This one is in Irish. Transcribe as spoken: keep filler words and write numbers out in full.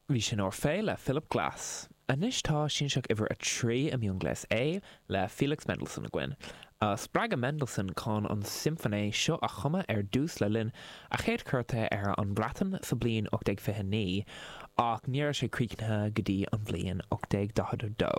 Bhí sin Orphée le Philip Glass. Anois tá Sianseach uimhir a trí i miongléas A le Felix Mendelssohn againn. Spreagadh Mendelssohn chun an simfóine seo a chumadh ar dtús le linn a chéad chuairte ar an Bhreatain sa bhliain ocht déag fiche naoi, ach ní raibh sé críochnaithe go dtí an bhliain ocht déag daichead a dó.